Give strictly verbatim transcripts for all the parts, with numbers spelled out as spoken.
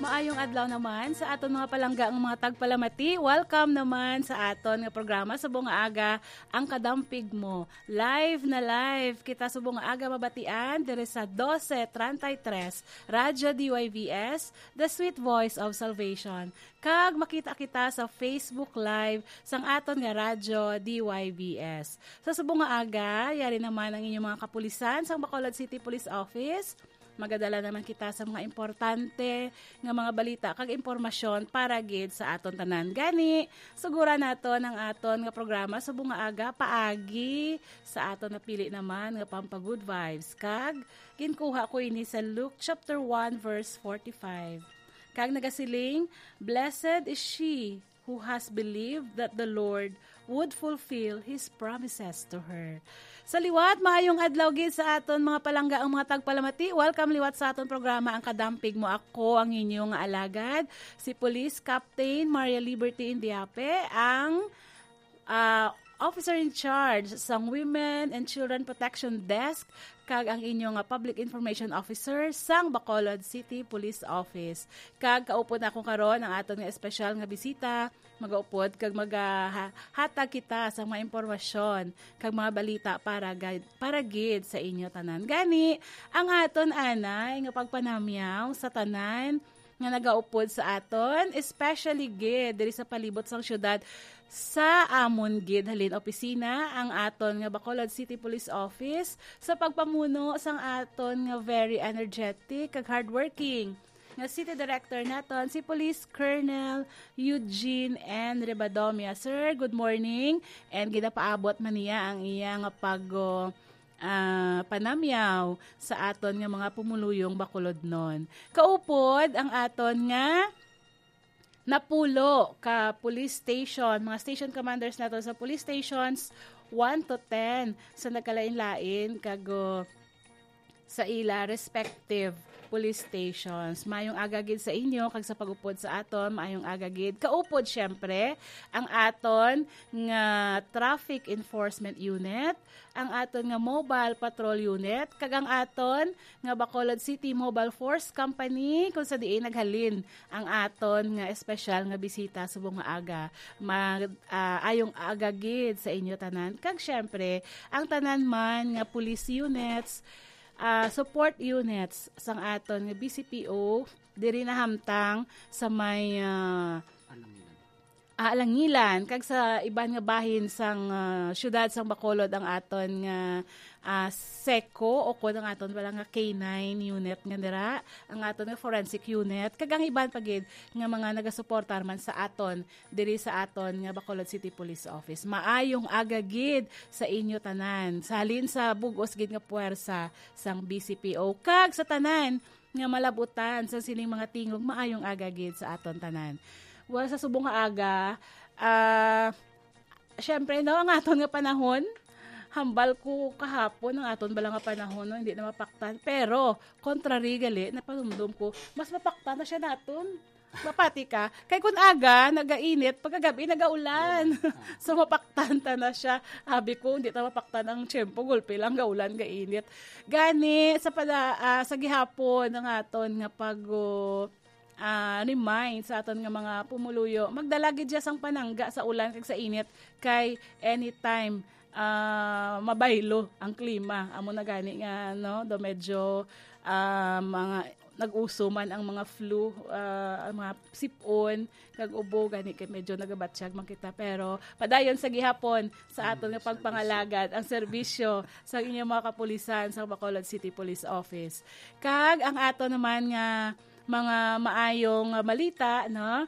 Maayong adlaw naman sa aton mga palangga nga mga tagpalamati. Welcome naman sa aton nga programa subong nga aga, Ang Kadampig Mo. Live na live kita subong nga aga mabatian diri sa dose treinta y tres, Radyo D Y V S, The Sweet Voice of Salvation. Kag makita kita sa Facebook Live sang aton nga radyo, D Y V S. Sa subong nga aga, yari naman ang inyong mga kapulisan sang Bacolod City Police Office. Magadala naman kita sa mga importante nga mga balita kag impormasyon para gid sa aton tanan. Gani, suguran naton ang aton nga programa subong nga aga paagi sa aton napili naman nga pampa-good vibes. Kag ginkuha ko ini sa Luke chapter one, verse forty-five. Kag nagasiling, "Blessed is she who has believed that the Lord would fulfill His promises to her." Sa liwat, maayong adlaw gid sa aton mga palangga ang mga tagpalamati. Welcome liwat sa aton programa, Ang Kadampig Mo. Ako ang inyo nga alagad, si Police Captain Maria Liberty Indiape, ang ah, officer in charge sang Women and Children Protection Desk kag ang inyo nga Public Information Officer sang Bacolod City Police Office. Kag kaupod na akong karon ang aton nga espesyal nga bisita, magaupod kag magahatag kita sa mga impormasyon kag mga balita para gid, para gid sa inyo tanan. Gani, ang aton anay nga pagpanamyaw sa tanan nga nagaupod sa aton, especially gid diri sa palibot sang syudad. Sa amon gid halin opisina ang aton nga Bacolod City Police Office sa pagpamuno sang aton nga very energetic kag hardworking nga City Director naton, si Police Colonel Eugene N. Rebadomia. Sir, good morning. And ginapaabot man niya ang iya nga pag, ah, panamyaw sa aton nga mga pumuluyong Bacolodnon. Kaupod ang aton nga napulo ka police station, mga station commanders nato sa police stations one to ten sa nagkalain-lain kag, uh, sa ila respective police stations. Mayong aga gid sa inyo kag sa pag-upod sa aton, mayong aga gid. Kaupod, syempre, ang aton nga Traffic Enforcement Unit, ang aton nga Mobile Patrol Unit, kag ang aton nga Bacolod City Mobile Force Company, kung sa diin naghalin ang aton nga espesyal nga bisita subong nga aga. Ma-, ah, ayong aga gid sa inyo tanan. Kag syempre, ang tanan man nga police units, ah, support units sang aton nga B C P O diri nahamtang sa may, ah, Alangilan, kag sa iban nga bahin sang, ah, siyudad sang Bacolod ang aton nga, ah, SECO, o kon ang aton bala nga K nine unit nga dira, ang aton nga forensic unit, kag ang iban pa gid nga mga nagasuportar man sa aton diri sa aton nga Bacolod City Police Office. Maayong aga gid sa inyo tanan. Sa halin sa bug-os gid nga puwersa sang B C P O kag sa tanan nga malabutan sa sining mga tingog, maayong aga gid sa aton tanan. Well, sa subong nga aga, ah, syempre, no, ang aton nga panahon, hambal ko kahapon ang aton bala nga panahon, no, hindi na mapaktan. Pero, contrary gali, napanumdom ko, mas mapaktan na siya naton. Mapati ka. Kay kun aga, nagainit, pagkagabi, nagaulan. So, mapaktan ta na siya. Abi ko, hindi ta mapaktan ang tiyempo, gulpi lang, gaulan, gainit. Gani, sa pala, ah, sa gihapon, ang aton nga pag, ah, remind sa aton nga mga pumuluyo, magdala gid siya sang panangga sa ulan kag sa init, kay anytime, ah, mabaylo ang klima. Amo na gani nga, no, do medyo, ah, mga nag-uso man ang mga flu, ah, ang mga sipon, kag ubo, gani kay medyo nagabatsyag man kita. Pero padayon sa gihapon sa aton nga pagpangalagad, ang serbisyo sa inyong mga kapulisan sa Bacolod City Police Office. Kag ang ato naman nga mga maayong balita, no?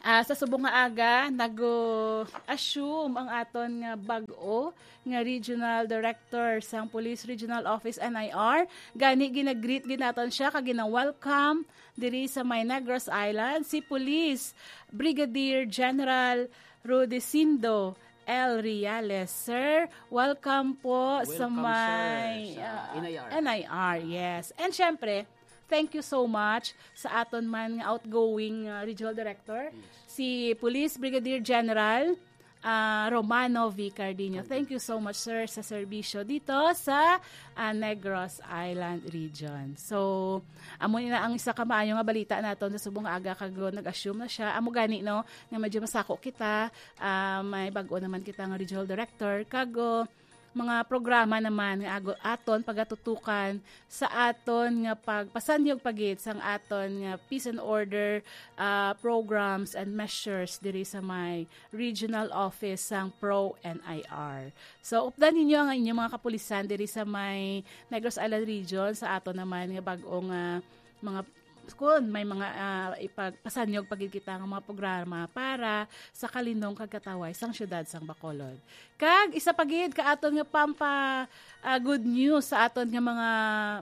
Ah, sa subong nga aga, nag-assume ang aton nga bag-o nga Regional Director sang Police Regional Office, N I R. Gani, ginagreet gid naton siya kag gina-welcome diri sa may Negros Island, si Police Brigadier General Rudecindo L. Reales. Sir, welcome po sa Welcome, sir, may, sa ah, N I R. N I R, yes. And syempre, thank you so much sa aton man nga outgoing, ah, regional director, Yes. si Police Brigadier General ah, Romano V. Cardino. Thank you so much, sir, sa serbisyo dito sa, ah, Negros Island region. So, amo na ang isa ka maayo nga balita naton sa subong nga aga, kag nag-assume na siya. Amo gani, no, nga medyo masako kita, ah, may bag-o naman kita nga regional director, kag, oh, mga programa naman nga ago-, aton pagatutukan sa aton nga pagpasanyog pa gid sang aton nga peace and order, ah, programs and measures diri sa may regional office sang Pro N I R. So, updan ninyo ang inyong mga kapulisan diri sa may Negros Island Region, sa aton naman nga bag-ong, ah, mga, kun may mga, ah, ipagpasanyog pa gid kita nga mga programa para sa kalinong kag kataway sang siyudad sang Bacolod. Kag isa pa gid ka aton nga pampa, ah, good news sa aton nga mga,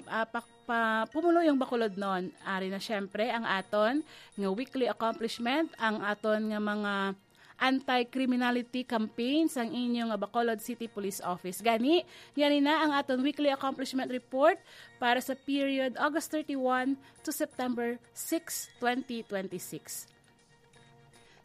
ah, pa-, pa-, pumuluyong Bacolodnon. Ari na siyempre ang aton nga weekly accomplishment, ang aton nga mga anti-criminality campaign sang inyo nga Bacolod City Police Office. Gani, yari na ang aton weekly accomplishment report para sa period August thirty-one to September six, twenty twenty-six.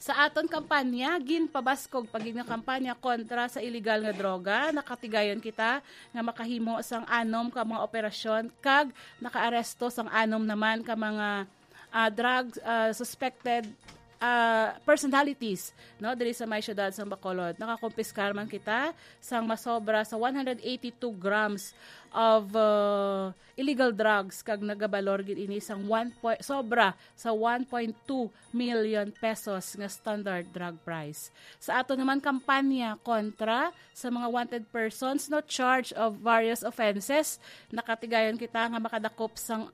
Sa aton kampanya, ginpabaskog pa gid nga kampanya kontra sa iligal nga droga, nakatigayon kita nga makahimo sang anom ka mga operasyon kag nakaaresto sang anom naman ka mga, ah, drug, ah, suspected, ah, personalities, no, diri sa may siyudad sang Bacolod. Nakakumpiskar man kita sang masobra sa one hundred eighty-two grams of, ah, illegal drugs, kag nagabalor gid ini sang one point, sobra sa one point two million pesos nga standard drug price. Sa ato naman kampanya kontra sa mga wanted persons, no, charge of various offenses, nakatigayon kita nga makadakop sang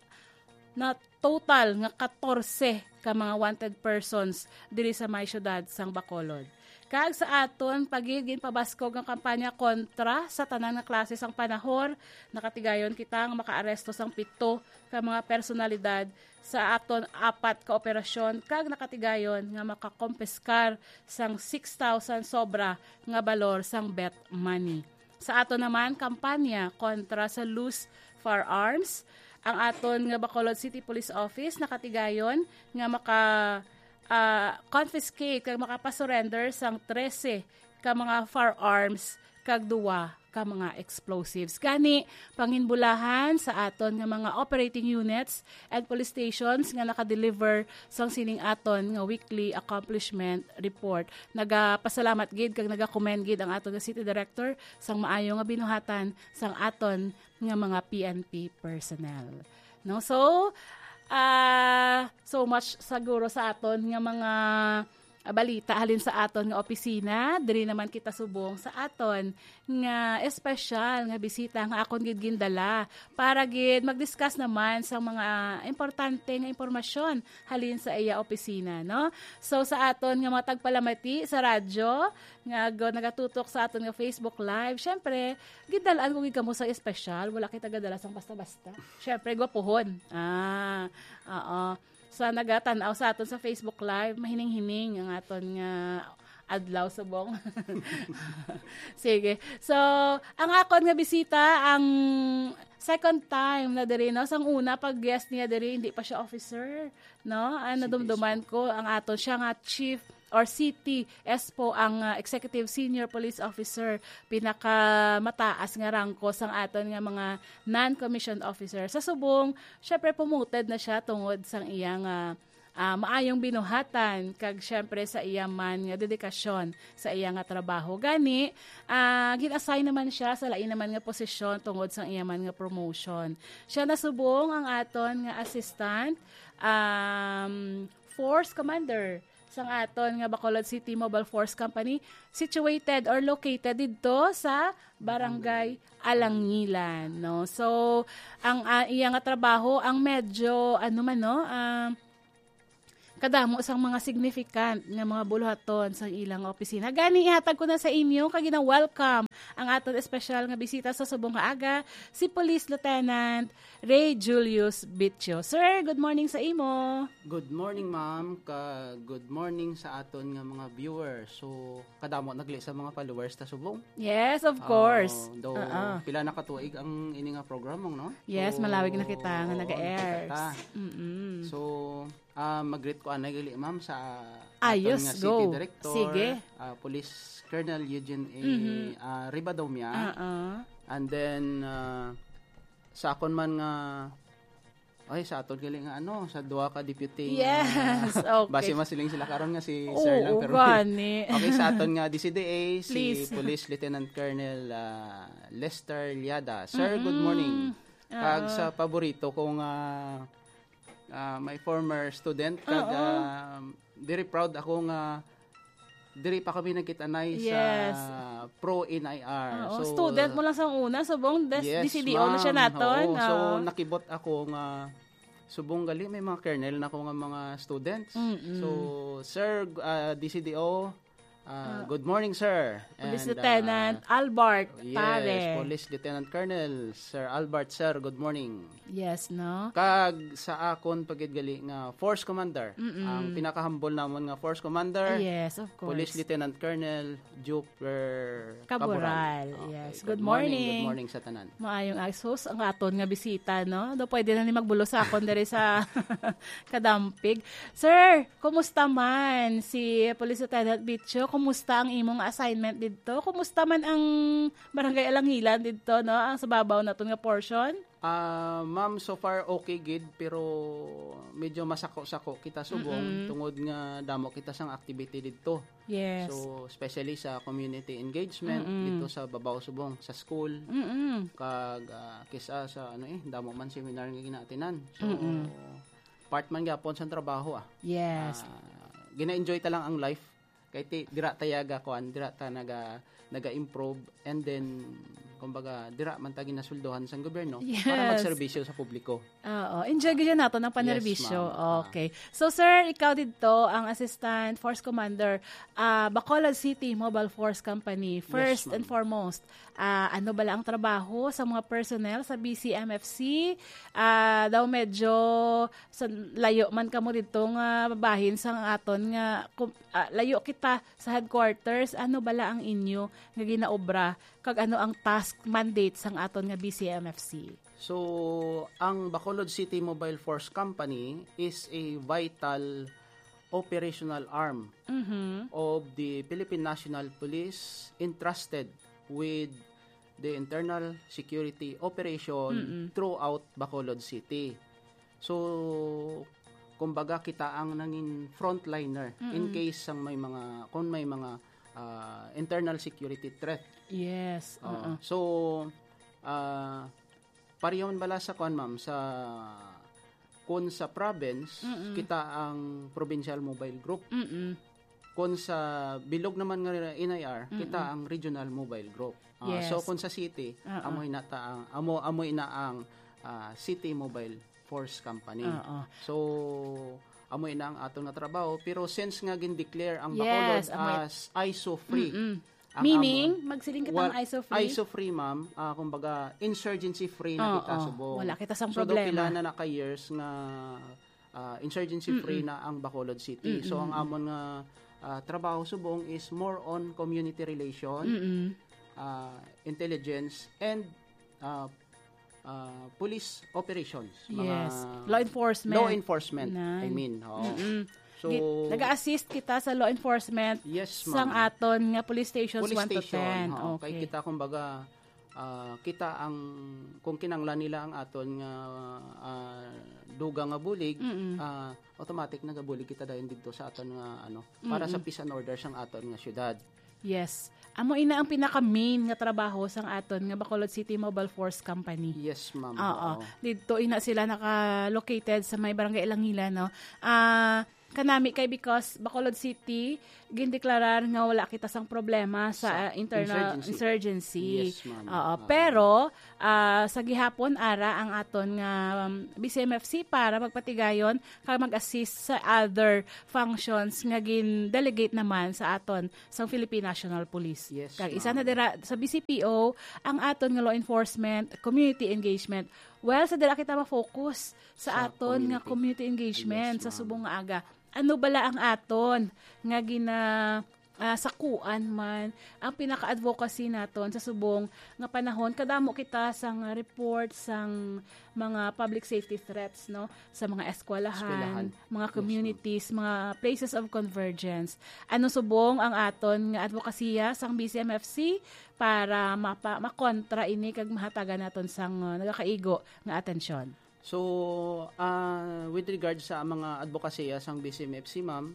na total nga katorse ka mga wanted persons diri sa may siyudad sang Bacolod. Kag sa aton pa gid ginpabaskog nga kampanya kontra sa tanan nga klase sang panahor, nakatigayon kita nga makaaresto sang pito ka mga personalidad sa aton apat ka operasyon, kag nakatigayon nga makakompiskar sang six thousand sobra nga balor sang bet money. Sa ato naman kampanya kontra sa loose firearms, ang aton nga Bacolod City Police Office nakatigayon nga maka, ah, confiscate kag makapasurrender sang trese ka mga firearms kag duwa ka mga explosives. Gani, panginbulahan sa aton nga mga operating units and police stations nga naka-deliver sang sining aton nga weekly accomplishment report. Nagapasalamat gid kag nagakomend gid ang aton nga city director sang maayo nga binuhatan sang aton nga mga P N P personnel. No? So, ah, so much siguro sa aton nga mga, ah, balita halin sa aton nga opisina. Diri naman kita subong sa aton nga espesyal nga bisita nga akon gid gindala para gid mag-discuss naman sa mga importante nga impormasyon halin sa iya opisina, no? So, sa aton nga mga tagpalamati sa radyo nga go-, nagatutok sa aton nga Facebook Live, syempre, gidal-an ko gid kamo sa espesyal. Wala kita gadala sang basta-basta. Syempre, gwapuhon. Ah, oo. Sa nagatan-aw sa aton sa Facebook Live, mahining-hining ang aton nga adlaw subong. Sige. So, ang akon nga bisita, ang second time na diri, no? Sang una, pag guest niya diri, hindi pa siya officer, no? Ang City nadumduman S P. Ko, ang aton siya nga chief or city S P O, ang, ah, executive senior police officer, pinakamataas nga rangko sang aton nga mga non-commissioned officer. Sa subong, syempre, promoted na siya tungod sang iyang, ah, ah, maayong binuhatan, kag syempre sa iya man nga dedikasyon sa iya nga trabaho. Gani, ah, gin-assign naman siya sa lain naman nga posisyon tungod sang iya man nga promotion. Siya na subong ang aton nga assistant, um, force commander sang aton nga Bacolod City Mobile Force Company, situated or located didto sa Barangay Alangilan, no? So, ang, ah, iya nga trabaho, ang medyo, ano man, no? Ah, kadamo sang mga significant nga mga buluhaton sa ilang opisina. Gani, ihatag ko na sa inyo, kag gina-welcome ang aton espesyal nga bisita sa subong nga aga, si Police Lieutenant Ray Julius Bitio. Sir, good morning sa imo. Good morning, ma'am. Ka, good morning sa aton nga mga viewers. So, kadamo nagli sa mga followers ta subong. Yes, of course. Ah, though, Ah, ah. pila na ka tuig ang ini nga programa, no? Yes, So, malawig na kita nga nag-air. kita. Mm-mm. So, Ah, mag-greet ko anay gali, ma'am, sa aton Ayos, nga city go. Director, Sige. ah, Police Colonel Eugene A. Mhm. ah, Ribadomia. Ah, ah. And then, ah, sa akon man nga, ay, sa aton gali nga, ano, sa duha ka deputy nga Yes, okay. base masiling sila karon nga si Sir lang, Oo, pero gani. okay, sa aton nga D C D A, si Please. Police Lieutenant Colonel, ah, Lester Liada. Sir, good Mm-mm. morning. Kag Ah. sa paborito ko nga, ah, my former student, kag, Oo. ah, very proud ako nga diri pa kami nagkita-anay sa Yes. pro N I R. Oo, So, student mo lang sa una, subong des-, Yes, D C D O na siya ma'am. naton. Oo, so, Oo. nakibot ako nga subong gali may mga colonel na ko nga mga students. Mm-mm. So, Sir, ah, D C D O, ah, Ah. good morning, sir. Police And, Lieutenant ah, Albert yes, Pare. Police Lieutenant Colonel, Sir Albert, sir, good morning. Yes, no? Kag sa akon pa gid gali nga Force Commander, Mm-mm. ang pinakahambol namon nga Force Commander, Yes, of Police course. Lieutenant Colonel Juper Caboral. Caboral. Okay, Yes. good Good morning, morning. good morning sa tanan. Maayong asos ang aton nga bisita, no? Do pwede na ni magbulos sa akon diri sa Kadampig. Sir, kumusta man si Police Lieutenant Bicho? Kumusta ang imong assignment didto? Kumusta man ang Barangay Alangilan didto, no? Ang sa babaw naton nga portion? Ah, ma'am, so far okay gid, pero medyo masako-sako kita subong Mm-mm. tungod nga damo kita sang activity didto. Yes. So, especially sa community engagement Mm-mm. didto sa babaw subong, sa school, Mm-mm. kag, ah, kisa sa, ano eh, damo man seminar nga ginaatinan. So, Mm-mm. part man gyapon sa trabaho, ah. Yes. Ah, gina-enjoy ta lang ang life. Kay ti-, dira ta yaga kuan, dira ta naga-, naga-improve, and then, kumbaga, dira man ta ginasuldohan sang gobyerno para Yes. magserbisyo sa publiko. Oo. Enjoy gyud nato ang Yes, panerbisyo. ma'am. Ah. Okay. So, sir, ikaw didto ang Assistant Force Commander, ah, Bacolod City Mobile Force Company. Yes, First and ma'am. foremost, ah, ano bala ang trabaho sa mga personnel sa B C M F C? Ah, daw medyo sa layo man kamo didto nga bahin sang aton nga kum-, ah, layo kita sa headquarters. Ano bala ang inyo nga ginaobra kag ano ang task mandate sang aton nga B C M F C? So, ang Bacolod City Mobile Force Company is a vital operational arm Mhm. of the Philippine National Police entrusted with the internal security operation Mm-mm. throughout Bacolod City. So, kumbaga, kita ang nangin frontliner in Mm-mm. case sang may mga, kung may mga, ah, internal security threat. Yes, Oo. oo. So, ah, pareho man bala sa kuan, ma'am, sa, kung sa province, Mm-mm. kita ang Provincial Mobile Group. Mm-mm. Kung sa bilog naman nga N I R, Mm-mm. kita ang Regional Mobile Group. Ah, Yes. so kung sa city, Oo. amo ina ta ang, amo, amo ina ang, ah, City Mobile Force Company. Oo. So, amo ina ang aton nga trabaho. Pero since nga gin-declare ang Bacolod Yes, amo i- as ISO free, Mm-mm. ang Meaning, amo, magsiling kita wal-, ang ISO free? ISO free, ma'am, ah, kumbaga, insurgency free na Oo, kita subong. Wala kita sang So, daw problema. pila na na ka years nga, ah, insurgency free Mm-mm. na ang Bacolod City. So, ang Mm-mm. amon nga, ah, trabaho subong is more on community relation, Mm-mm. ah, intelligence, and, ah, ah, police operations. Mga Yes. Law enforcement. law enforcement, Nan. I mean. Oo. Mm-mm. So, Gi-, nag-a-assist kita sa law enforcement Yes, sang ma'am. aton nga police stations Police one to station, ten. oo. Kay Okay. kita, kumbaga, ah, kita ang, kung kinanglan nila ang aton nga, ah, dugang nga bulig, Mm-mm. ah, automatic nagabulig kita dayon didto sa aton nga, ano, para sa Mm-mm. peace and order sang aton nga syudad. Yes. Amo ina ang pinaka-main nga trabaho sang aton nga Bacolod City Mobile Force Company. Yes, ma'am. Oo. Oo. Didto ina sila naka-located sa may Barangay Alangilan, no? Ah, kanami kay because Bacolod City, gindeklarar nga wala kita sang problema sa, Sa ah, internal insurgency. insurgency. Yes, ma'am. Oo. Oo. Pero, ah, sa gihapon, ara ang aton nga, um, B C M F C para magpatigayon kag mag-assist sa other functions nga gin-delegate naman sa aton sang Philippine National Police. Yes, Kag isa na ma'am. dira sa B C P O ang aton nga law enforcement, community engagement. Well, sa dira kita ma-focus sa Sa aton nga community. community engagement Yes, sa ma'am. subong nga aga. Ano bala ang aton nga gina-, ah, sakuan man ang pinaka-advocacy naton sa subong nga panahon. Kadamo kita sang report sang mga public safety threats, no, sa mga eskwelahan, Eskwelahan. Mga Yes, ma'am. communities, mga places of convergence. Ano subong ang aton nga advokasya sang B C M F C para mapa-, makontra ini kag mahatagan naton sang, uh, nagakaigo nga atensyon? So, ah, with regard sa mga advokasya sang B C M F C, ma'am,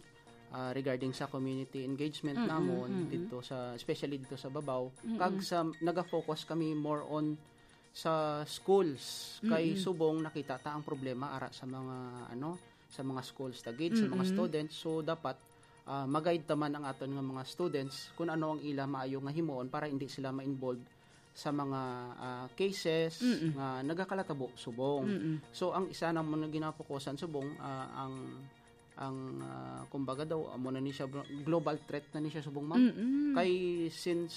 ah, regarding sa community engagement Mm-mm, namon mm-mm. dito sa, especially dito sa Babaw, Mm-mm. kag sa, naga-focus kami more on sa schools. Kay Mm-mm. subong nakita ta ang problema ara sa mga, ano, sa mga schools ta gid, sa mga Mm-mm. students. So, dapat, ah, ma-guide ta man ang aton nga mga students kung ano ang ila maayo nga himuon para hindi sila ma-involve sa mga, ah, cases Mm-mm. nga nagakalatabo subong. Mm-mm. So, ang isa namon nga ginapokusan subong, ah, ang, ang, ah, kumbaga daw, amo na ni siya, global threat na ni siya subong, ma'am. Mm-mm. Kay since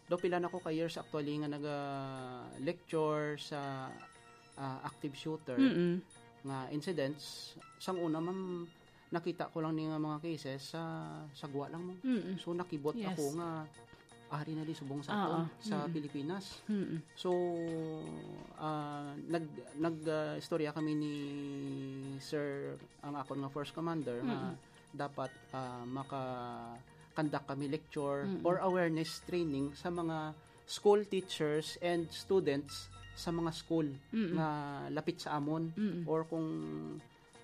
daw pila na ko ka years actually nga naga-lecture sa, ah, active shooter Mm-mm. nga incidents, sang una, ma'am, nakita ko lang ni nga mga cases sa, sa gwa lang mo. Mm-mm. So, nakibot Yes. ako nga ari na di subong sa Oo. aton sa Mm-mm. Pilipinas. Mm-mm. So, ah, nag-, nag, ah, istorya kami ni Sir, ang akon nga first commander, nga Mm-mm. dapat, ah, maka-conduct kami lecture Mm-mm. or awareness training sa mga school teachers and students sa mga school Mm-mm. nga lapit sa amon Mm-mm. or kung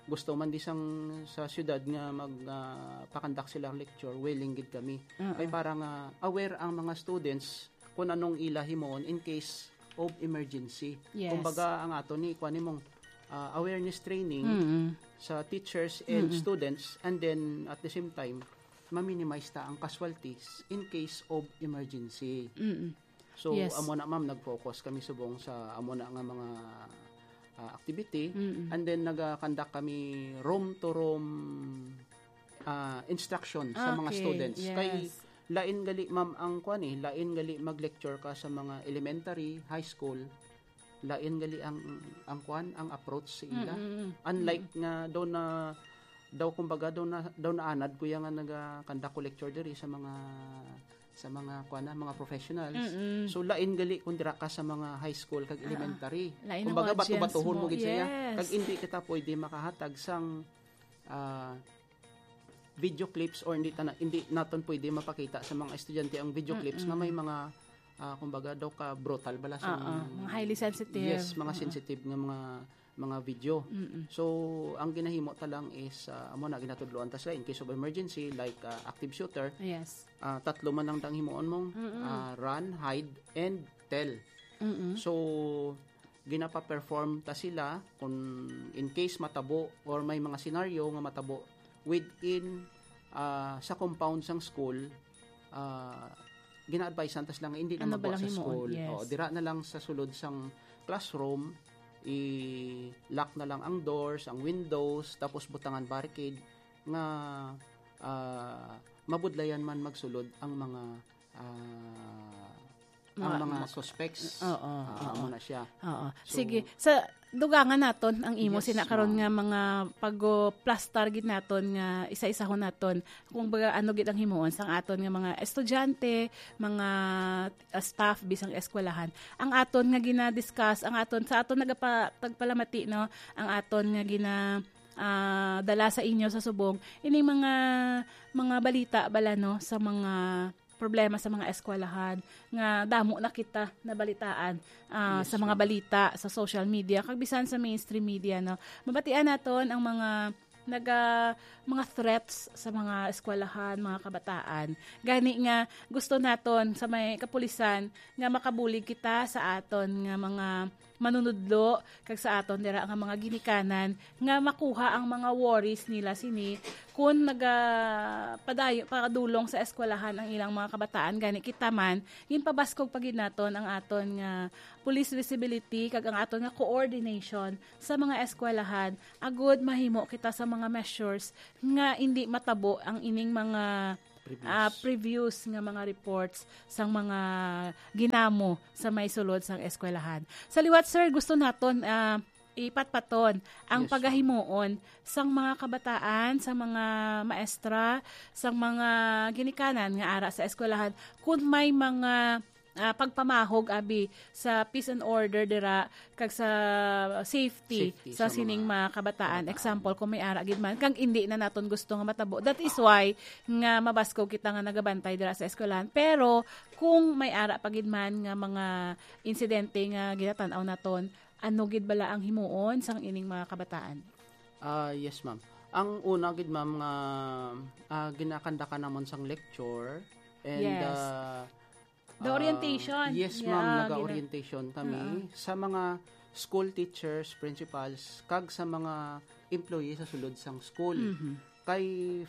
gusto man di sang sa siyudad nga mag, ah, pakandak sila ang lecture, willing gid kami. Oo. Kay para nga aware ang mga students kung anong ila himuon in case of emergency. Yes. Kumbaga, ang ato ni, kuwan nimong, ah, awareness training Mm-mm. sa teachers and Mm-mm. students, and then at the same time, ma-minimize ta ang casualties in case of emergency. Mm-mm. So, Yes. amo na, ma'am, nag-focus kami subong sa amo na nga mga, ah, activity. Mm-mm. And then, nag-conduct kami room-to-room, ah, instruction sa mga Okay, students. Kay yes. lain gali, ma'am, ang kwan eh, lain gali mag-lecture ka sa mga elementary, high school, lain gali ang, ang kwan, ang approach sa ila. Mm-mm. Unlike Mm-mm. nga daw na, daw kumbaga daw na, daw naanad ko ya nga naga-conduct ko lecture diri sa mga, sa mga kwan na, mga professionals. Mm-mm. So, lain gali kung dira ka sa mga high school kag Ah, elementary. lain ang Kumbaga, audience bato-batohon mo mo. gid siya. Yes. Kag hindi kita pwede makahatag sang, ah, video clips or hindi ta na, hindi naton pwede mapakita sa mga estudyante ang video clips nga may Mm-mm. mga, ah, kumbaga daw ka brutal bala sa Oo, mga highly sensitive. Yes, mga Mm-mm. sensitive nga mga, mga video. Mm-mm. So, ang ginahimo ta lang is, ah, amo na ginatudloan ta sila in case of emergency, like, ah, active shooter, Yes. ah, tatlo man lang dang himuon mong, Mm-mm. ah, run, hide, and tell. Mm-mm. So, ginapa-perform ta sila kung in case matabo or may mga senaryo nga matabo within, ah, sa compound sang school, ah, gina-advisean ta sila nga hindi na Ano ba magwa lang sa himuon? school. Yes. Oo, dira na lang sa sulod sang classroom, i-lock na lang ang doors, ang windows, tapos butangan barricade nga, ah, mabudlayan man magsulod ang mga, ah, ang Mga mga ma- suspects. Oo, Ah, oo. amo na siya. Oo. So, Sige. Sa dugangan naton ang imo Yes, sina karon ma'am. nga mga pagplastar gid naton nga isa-isahon naton kung baga ano gid ang himuon sang aton nga mga estudyante, mga, ah, staff bisang eskwelahan. Ang aton nga gina-discuss, ang aton sa aton nagapa-, tagpalamati, no, ang aton nga gina, ah, dala sa inyo sa subong ining mga, mga balita bala, no, sa mga problema sa mga eskwelahan nga damo na kita nabalitaan, ah, Yes, sa mga ma'am. balita sa social media kag bisan sa mainstream media, no. Mabatian naton ang mga naga-, mga threats sa mga eskwelahan, mga kabataan. Gani nga gusto naton sa may kapulisan nga makabulig kita sa aton nga mga manunudlo kag sa aton dira nga mga ginikanan nga makuha ang mga worries nila sini kun naga-, padayo-, padulong sa eskwelahan ang ilang mga kabataan. Gani kita man, ginpabaskog pa gid naton ang aton nga police visibility kag ang aton nga coordination sa mga eskwelahan agud mahimo kita sa mga measures nga indi matabo ang ining mga, Previous. ah, previous nga mga reports sang mga ginamo sa may sulod sang eskwelahan. Sa liwat, sir, gusto naton, ah, ipatpaton ang Yes, ma'am. pagahimuon sang mga kabataan, sa mga maestra, sa mga ginikanan nga ara sa eskwelahan, kung may mga, ah, pagpamahog, abi, sa peace and order dira, kag sa safety Safety sa sa sining mga mga kabataan. kabataan. Example, kung may ara gid man, kag hindi na naton gusto nga matabo. That is why nga mabaskog kita nga nagabantay dira sa eskwelahan. Pero kung may ara pa gid man nga mga insidente nga ginatan-aw naton, ano gid bala ang himuon sang ining mga kabataan? Ah, yes, ma'am. Ang una gid, ma'am, nga, ah, ginakandakan namon sang lecture and, Yes. ah, The ah, orientation. Yes, Yeah, ma'am, gina- naga-orientation kami Oo. sa mga school teachers, principals, kag sa mga employee sa sulod sang school. Mhm. Kay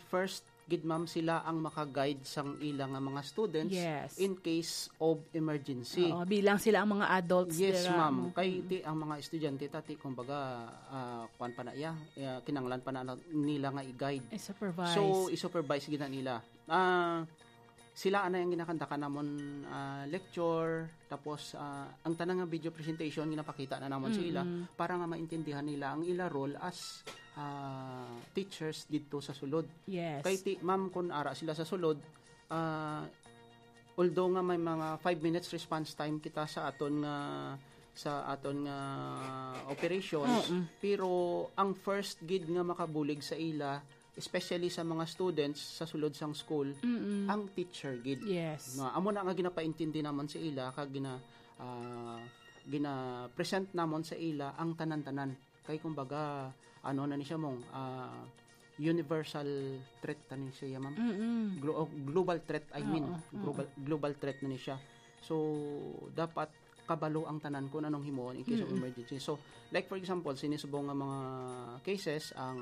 first gid, ma'am, sila ang maka-guide sang ila nga mga students Yes. in case of emergency. Oo, bilang sila ang mga adults Yes, dira. ma'am. Mm. Kay ti ang mga estudyante tati, kumbaga, ah, kuwan pa na iya, ah, kinanglan pa na nila nga i-guide. I-supervise. So, i-supervise gid na nila. Ah, sila anay ang ginakandakan namon, ah, lecture, tapos, ah, ang tanang nga video presentation ginapakita na namon sa ila Mm-mm. para nga maintindihan nila ang ila role as, ah, teachers didto sa sulod. Yes. Kay ti, ma'am, kun ara sila sa sulod, ah, although nga may mga five minutes response time kita sa aton nga, sa aton nga operations, Mm-mm. pero ang first gid nga makabulig sa ila, especially sa mga students sa sulod sang school, Mm-mm. ang teacher gid. Yes. No, amo na nga ginapaintindi namon sa ila kag gina-, ah, gina-present namon sa ila ang tanan-tanan. Kay kumbaga, ano na ni siya mong, ah, universal threat na ni siya, ma'am. Mm-mm. Glo-, oh, global threat, I mean. Oo, oo. Global, global threat na ni siya. So, dapat kabalo ang tanan kung anong himuon in case of Mm-mm. emergency. So, like for example, sini subong nga mga cases, ang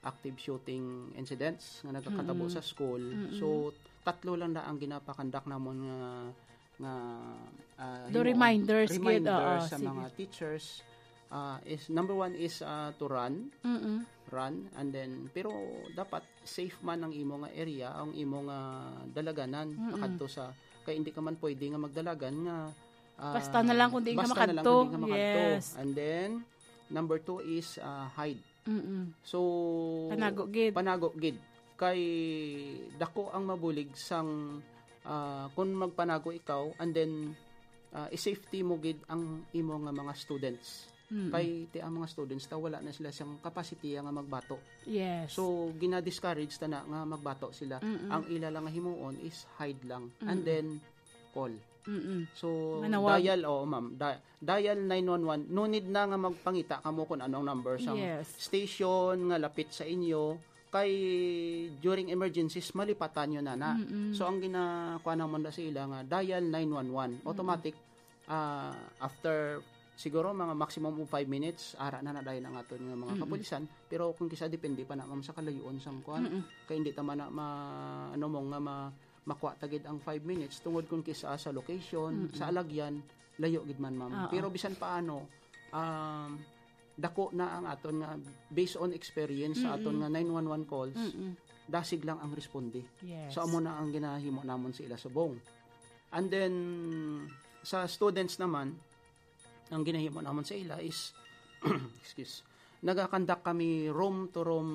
active shooting incidents nga nagakatabo Mm-mm. sa school. Mm-mm. So, tatlo lang na ang ginapakandak namon nga, nga, ah, The himuon. Reminders gid, Reminders oo, sa sige. mga teachers, ah, is, number one is, ah, to run. Mm-mm. Run, and then, pero dapat safe man ang imo nga area, ang imo nga dalaganan, Mm-mm. makadto sa, kay hindi ka man pwede nga magdalagan nga, ah, Basta na lang kung diin ka basta na lang makadto. kung diin ka makadto. Yes. And then, number two is, ah, hide. Mm-mm. So, Panago gid. panago gid. Kay dako ang mabulig sang, ah, kung magpanago ikaw, and then, ah, i-safety mo gid ang imo nga mga students. Mm-mm. Kay ti ang mga students ta wala na sila sang capacity nga magbato. Yes. So, gina-discourage ta na nga magbato sila. Mm-mm. Ang ila lang nga himuon is hide lang. And Mm-mm. then, call. Mm-mm. So, Manawag. dial, oo, ma'am. Di-, dial nine one one. No need na nga magpangita kamo kung anong number sang Yes. station nga lapit sa inyo. Kay during emergencies, malipatan nyo na na. Mm-mm. So, ang ginakuha namon na sa ila nga, dial nine one one. Mm-mm. Automatic, ah, after siguro mga maximum of five minutes, ara na na dayon ang aton nga mga Mm-mm. kapulisan. Pero kung kisa depende pa na, ma'am, sa kalayuan sang kuan. Mm-mm. Kay hindi ta man na ma-, ano mo nga ma-, makuha ta gid ang five minutes tungod kung kisa sa location, Mm-mm. sa alagyan, layo gid man, ma'am. Oo. Pero bisan paano, um, dako na ang aton nga, based on experience sa aton Mm-mm. nga nine one one calls, Mm-mm. dasig lang ang responde. Yes. So, amo na ang ginahimo namon sa ila subong. And then, sa students naman, ang ginahimo namon sa ila is, excuse, nagakandak kami room to room,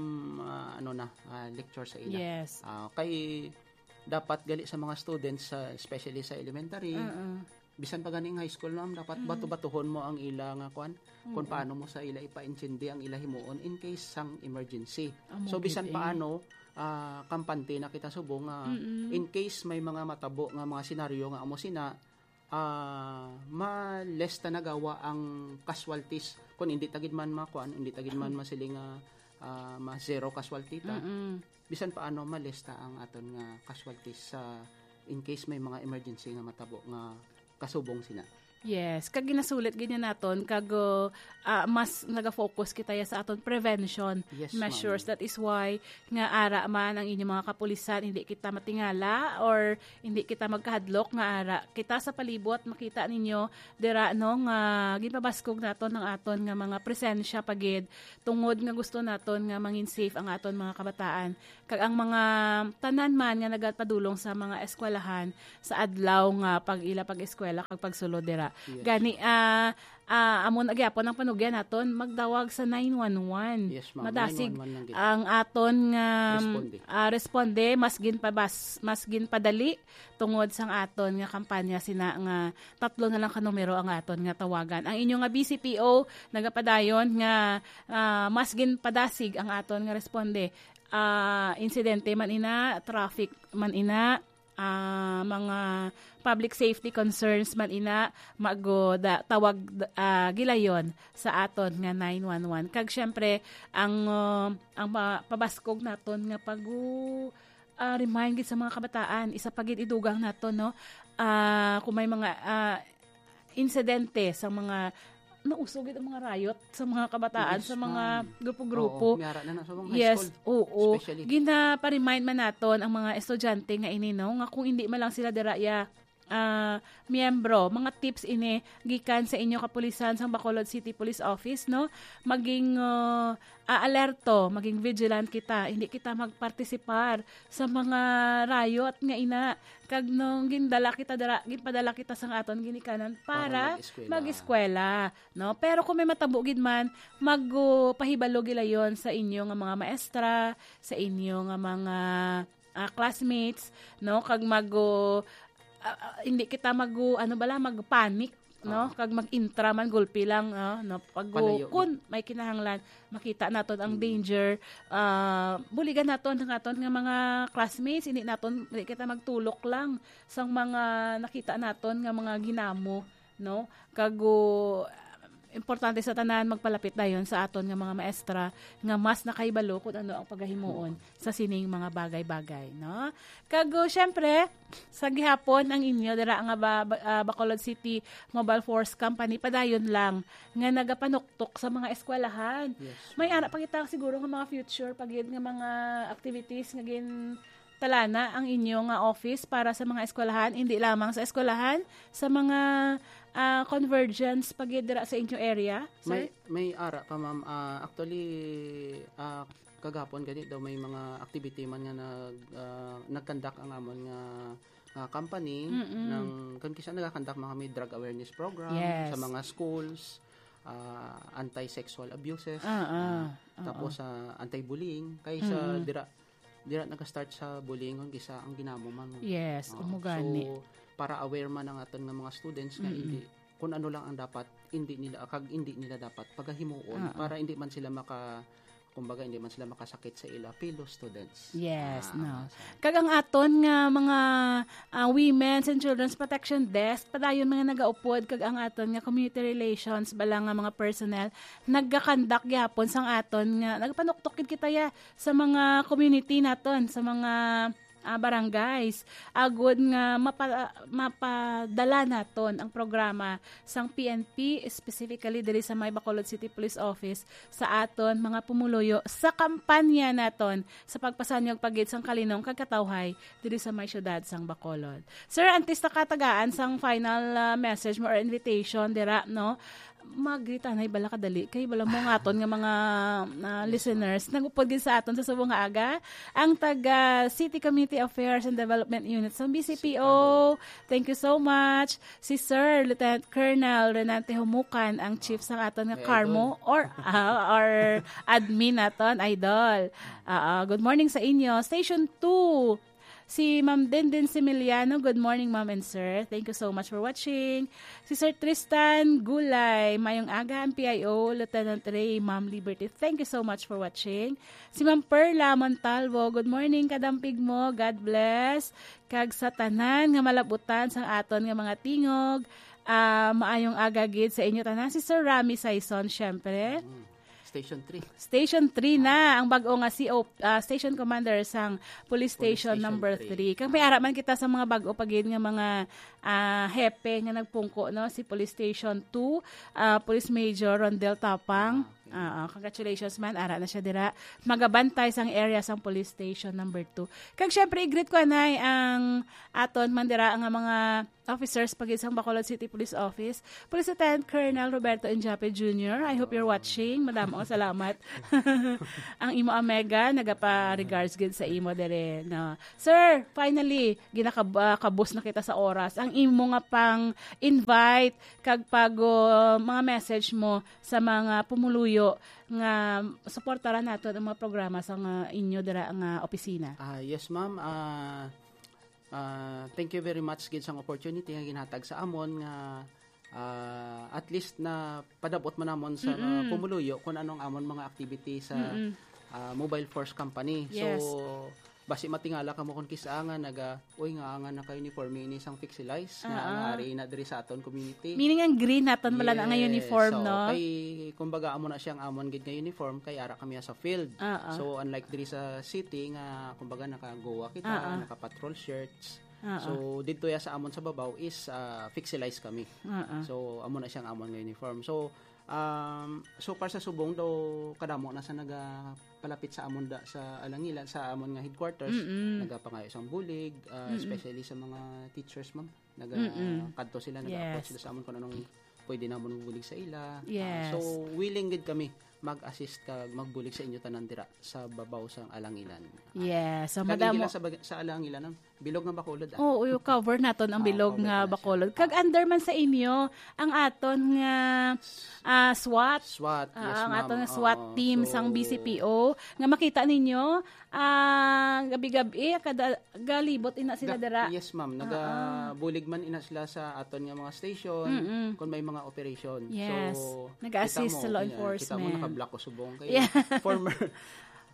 ah, ano na, ah, lecture sa ila. Yes. Ah, kay dapat gali sa mga students, sa, especially sa elementary, Mm-mm. bisan pa gani nga high school, ma'am, dapat Mm-mm. bato-batuhon mo ang ila nga kwan, kung Mm-mm. paano mo sa ila ipaintindi ang ila himuon in case sang emergency. Amo So, gid, bisan eh. paano, ah, kampante na kita subong nga Mm-mm. in case may mga matabo nga mga senaryo nga amo sina, ah, ma-less ta nagawa ang casualties. Kung hindi ta gid man makuan, hindi ta gid man masiling nga, ah, ma-zero casualty ta. Mm-mm. Bisan paano, ma-less ta ang aton nga casualties sa, in case may mga emergency nga matabo nga kasubong sina. Yes, kag ginasulit gid niya naton, kag, uh, ah, mas naga-focus kita ya sa aton prevention Yes, measures. ma'am. That is why nga ara man ang inyong mga kapulisan, hindi kita matingala or hindi kita magkahadlok nga ara kita sa palibot. Makita ninyo dira, no, nga ginpabaskog naton ang aton nga mga presensya pa gid, tungod nga gusto naton nga mangin safe ang aton mga kabataan. Kag ang mga tanan man nga nagapadulong sa mga eskwelahan sa adlaw nga pag-ila pag-eskwela kag pagsulod dira. Yes. Gani, ah, ah, amo na gyapon ang panugyan naton, magdawag sa nine one one. Yes, ma'am. Madasig nine one one lang gid. Ang aton nga, Responde. ah, responde, mas ginpabas-, mas ginpadali tungod sang aton nga kampanya, sina nga tatlo na lang ka numero ang aton nga tawagan. Ang inyo nga B C P O nagapadayon nga, ah, mas ginpadasig ang aton nga responde. Ah, insidente man ina, traffic man ina, ah, mga public safety concerns man ina, mago da, tawag, ah, gilayon sa aton nga nine one one. Kag syempre, ang, ah, ang pa-, pabaskog naton nga pag-, ah, remind gid sa mga kabataan, isa pa gid idugang naton, no? Ah, kung may mga, ah, insidente sa mga, nauso gid ang mga riot sa mga kabataan, Yes, sa mga ma'am. grupo-grupo. Oo, may ara na na sa mga high Yes, school, oo. especially. Ginaparemind man naton ang mga estudyante nga ini, no, nga kung hindi man lang sila dira ya, ah, miyembro, mga tips ini gikan sa inyo kapulisan sang Bacolod City Police Office, no? Maging, ah, ah, alerto, maging vigilant kita. Hindi kita magpartisipar sa mga riot nga ina. Kag nung gindala kita dira, ginpadala kita sang aton ginikanan Para para mag-eskwela. mag-eskwela, no? Pero kung may matabo gid man, mag, uh, pahibalo gilayon sa inyo nga mga maestra, sa inyo nga mga, ah, classmates, no? Kag mag, uh, ah, ah, hindi kita mag, uh, ano bala, magpanic, no? Ah. Kag mag-intra man, gulpi lang, no? No? Pag, uh, Palayo, kun may kinahanglan, makita naton ang Mm. danger, ah, buligan naton ang aton nga mga classmates, hindi naton, hindi kita magtulok lang sang mga nakita naton nga mga ginamo, no? Kag, uh, importante sa tanan, magpalapit dayon sa aton nga mga maestra nga mas nakahibalo kung ano ang pagahimuon sa sining mga bagay-bagay, no? Kag, uh, syempre, sa gihapon ang inyo dira nga ba, ba, ah, Bacolod City Mobile Force Company, padayon lang nga nagapanuktok sa mga eskwelahan. Yes, May ma'am. ara pa kita siguro nga mga future pa gid nga mga activities nga gin talana ang inyo nga office para sa mga eskwelahan, hindi lamang sa eskwelahan, sa mga, ah, convergence pa gid dira sa inyo area, sir? May, may ara pa, ma'am. Ah, actually, ah, kagahapon gani daw may mga activity man nga nag, ah, nag-conduct ang amon nga, ah, company Mm-mm. ng, kan kisa nagakandak mga may drug awareness program Yes. sa mga schools, ah, anti-sexual abuses, Ah, ah. ah, Oo. tapos sa anti-bullying. Kay sa Mm. dira, dira nag-start sa bullying, kung kisa ang ginamo man. Yes, Oo. amo gani. So, para aware man ang aton nga mga students nga Mm-mm. hindi, kung ano lang ang dapat, hindi nila, kag hindi nila dapat pagahimuon Oo. para hindi man sila maka-, kumbaga, hindi man sila makasakit sa ila fellow students. Yes, Ah, no. sa Kag ang aton nga mga, ah, Women's and Children's Protection Desk, padayon mga nagaupod, kag ang aton nga community relations, bala nga mga personnel, nagkakandak gyapon sang aton nga, nagpanuktok gid kita ya sa mga community naton, sa mga, ah, barangays, agud nga mapa-, mapadala naton ang programa sang P N P, specifically diri sa may Bacolod City Police Office, sa aton mga pumuluyo sa kampanya naton sa pagpasanyog pa gid sang kalinong kag katawhay diri sa may siyudad sang Bacolod. Sir, antes ta katagaan sang final, ah, message mo or invitation dira, no? Magritanay bala kadali kay bala mo nga aton nga mga, ah, Yes, ma'am. listeners nagupod gid sa aton sa subong nga aga ang taga City Community Affairs and Development Unit sa B C P O. Thank you so much. Si Sir Lieutenant Colonel Renante Humukan, ang chief sa aton nga May Carmo, idol. or, ah, or admin naton, idol. Ah, ah, good morning sa inyo. Station two, si Ma'am Denden Similiano. Good morning, Ma'am and Sir. Thank you so much for watching. Si Sir Tristan Gulay, mayong aga, ang P I O, Lieutenant Ray, Ma'am Liberty. Thank you so much for watching. Si Ma'am Perla Montalvo, good morning, kadampig mo. God bless. Kag sa tanan nga malabutan sang aton nga mga tingog, ah, maayong aga gid sa inyo tanan. Si Sir Rami Saison, syempre. Mm. Station three. Station three na, ang bag-o nga C O, ah, Station Commander sang Police Police Station Station number three. three. Kag may ara man kita sa mga bag-o pa gid nga mga, ah, hepe nga nagpungko, no? Si Police Station two, ah, Police Major Rondel Tapang. Ah, okay. Oo, congratulations man, ara na siya dira. Magabantay sang area sang police station number two. Kag syempre, i-greet ko anay ang aton man dira nga mga officers pa gid sang Bacolod City Police Office. Police Lieutenant Colonel Roberto Enjape Junior, I hope you're watching. Madamo, salamat. Ang imo amega, nagapa-regards gid sa imo dere, no? Sir, finally, ginakab-, ah, kabus na kita sa oras. Ang imo nga pang-invite kag pag, uh, mga message mo sa mga pumuluyo nga suportaran naton ang mga programa sa nga inyo dira nga opisina. Ah, yes, ma'am. Ah, ah, thank you very much gid sang opportunity nga ginhatag sa amon nga, ah, at least na padabot man namon sa mga Mm-mm. pumuluyo kung anong amon mga activity sa, Mm-mm. ah, Mobile Force Company. Yes. So, basi matingala kamo kung kisa nga naga, "Uy, nga nga naka-uniforme ini sang Pixelize, nga Ah, nga ah. ari na diri sa aton community." Meaning ang green naton wala na nga Yes. uniform, So, no? kay, kumbaga, amo na siyang amon gid nga uniform, kay ara kami sa field. Ah, ah. So, unlike diri sa city nga, kumbaga, naka-goa kita, Ah, ah. naka-patrol shirts. Ah, ah. So, didto ya sa amon sa babaw is, ah, Pixelize kami. Ah, ah. So, amo na siyang amon nga uniform. So, um, so far sa subong daw, kadamo na sa nagapalapit sa amon da, sa Alangilan, sa amon nga headquarters, Mm-mm. nagapangayo sang bulig, ah, Mm-mm. especially sa mga teachers, ma'am. Naga-, Mm-mm. kadto sila, nag-approach Yes. sila sa amon kung anong pwede namon bulig sa ila. Ah, Yes. so, willing gid kami mag-assist kag magbulig sa inyo tanan dira sa babaw sang Alangilan. Ah, Yes. So, kag hindi madamo lang sa bag-, sa Alangilan, ang bilog nga Bacolod, ah. Oo, yung cover naton ang Ah, bilog cover nga na siya. Bacolod. Kag under man sa inyo ang aton nga, ah, SWAT. SWAT, Ah, yes, ang ma'am. aton nga SWAT Oo, team so sang B C P O nga makita ninyo, ah, gabi-gabi, kada, galibot ina sila Ga-, dira. yes, ma'am. Ah, ah. Nagabulig man ina sila sa aton nga mga station Mm-mm. kung may mga operation. Yes. So, Nag-a-assist kita mo, sa law yeah, kita mo, enforcement. naka-black ko subong kay Yeah. former,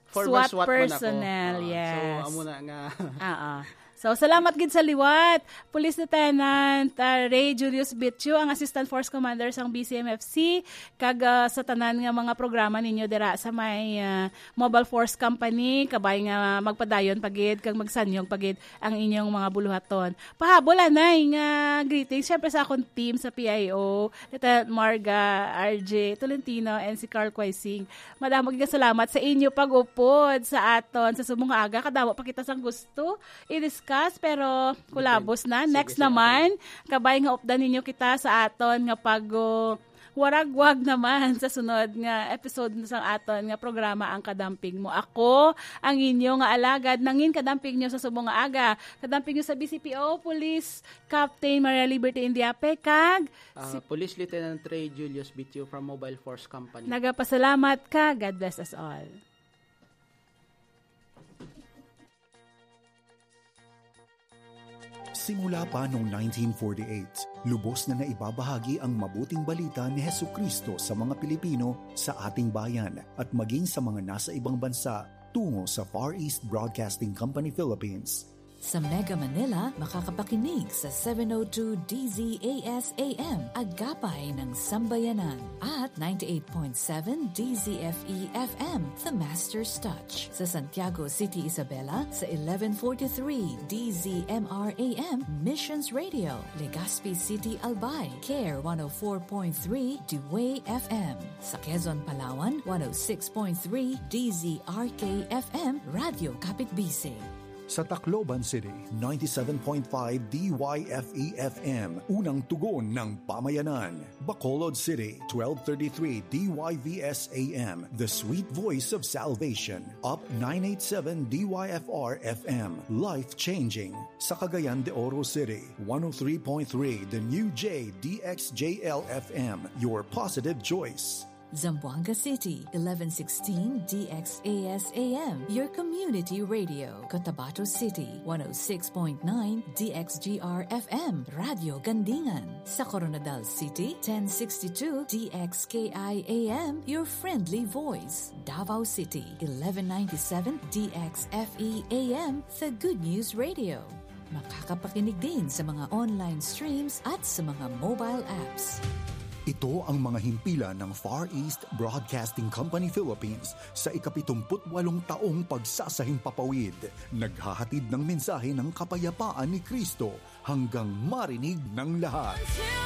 former SWAT SWAT man ako. personnel, Ah, yes. so, amo na nga. Ah, ah. So, salamat gid sa liwat, Police Lieutenant, ah, Ray Julius Bitio, ang Assistant Force Commander sang B C M F C, kag, ah, sa tanan nga mga programa ninyo dira sa may, ah, Mobile Force Company, kabay nga magpadayon pa gid kag magsanyog pa gid ang inyong mga buluhaton. Pahabol anay nga greetings, syempre, sa akon team sa P I O, Lieutenant Marga, R J Tolentino, and si Carl Quaising. Madamo gid nga salamat sa inyo pag-upod sa aton sa subong nga aga. Kadamo pa kita sang gusto i-discuss, pero kulabos na. Sige, Next sige, naman, ate. Kabay nga updan ninyo kita sa aton nga pag, uh, waragwag naman sa sunod nga episode sa aton nga programa, Ang Kadamping Mo. Ako, ang inyo nga alagad, nangin kadamping nyo sa subong nga aga. Kadamping nyo sa B C P O, Police Captain Maria Liberty Indiape, kag Ah, si Police Lieutenant Ray Julius Bitio from Mobile Force Company. Nagapasalamat ka. God bless us all. Simula pa noong nineteen forty-eight, lubos na naibabahagi ang mabuting balita ni Jesucristo sa mga Pilipino sa ating bayan at maging sa mga nasa ibang bansa tungo sa Far East Broadcasting Company Philippines. Sa Mega Manila, makakapakinig sa seven oh two D Z A S A M, Agapay ng Sambayanan, at ninety-eight point seven D Z F E F M, The Master's Touch. Sa Santiago City, Isabela, sa eleven forty-three D Z M R A M, Missions Radio, Legazpi City, Albay, Care one oh four point three, The Way F M. Sa Quezon, Palawan, one oh six point three D Z R K F M, Radyo Kapitbise. Sa Tacloban City, ninety-seven point five D Y F E F M, Unang Tugon ng Pamayanan. Bacolod City, twelve thirty-three D Y V S A M, The Sweet Voice of Salvation. Up nine eight seven D Y F R F M, Life Changing. Sa Cagayan de Oro City, one oh three point three The New J D X J L F M, Your Positive Choice. Zamboanga City, eleven sixteen D X A S A M, your community radio. Cotabato City, one oh six point nine D X G R F M, Radyo Gandingan. Sa Koronadal City, ten sixty-two D X K I A M, your friendly voice. Davao City, eleven ninety-seven D X F E A M, the Good News Radio. Makakapakinig din sa mga online streams at sa mga mobile apps. Ito ang mga himpilan ng Far East Broadcasting Company Philippines sa ikapitumpu't walong taong pagsasahimpapawid. Naghahatid ng mensahe ng kapayapaan ni Kristo hanggang marinig ng lahat.